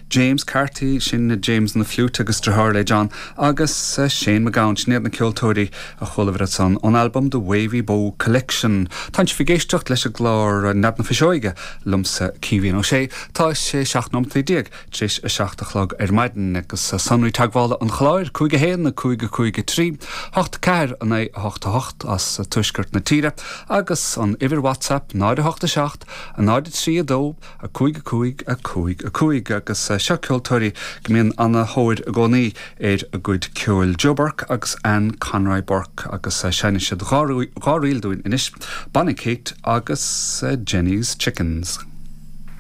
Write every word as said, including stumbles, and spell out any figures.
James Carty sin James na fliúit agus deartháir le John agus eh, Shane McGowan sin iad na ceoltóirí a chualamar ansan ón album The Wavy Bow Collection. Tá sibh ag éisteacht leis an gclár Nead na Fuiseoige liomsa Caoimhín Ó Sé tá sé seacht nóiméad déag tar éis a seacht a chlog ar maidin agus sonraí teagmhála an chláir cúig a haon a cúig a cúig a trí, hocht ceathair a naoi hocht hocht as tuaisceart na tíre agus an uimhir WhatsApp náid a hocht a seacht a náid a trí a dó a cúig a cúig a cúig a cúig agus eh, seo ceoltóirí go mbíonn an-tóir i gcónaí ar a gcuid ceoil Joe Burke agus Anne Conroy Burke agus eh, seinnfidh siad dhá ríl dúinn anois Bonnie Kate agus eh, Jenny's Chickens.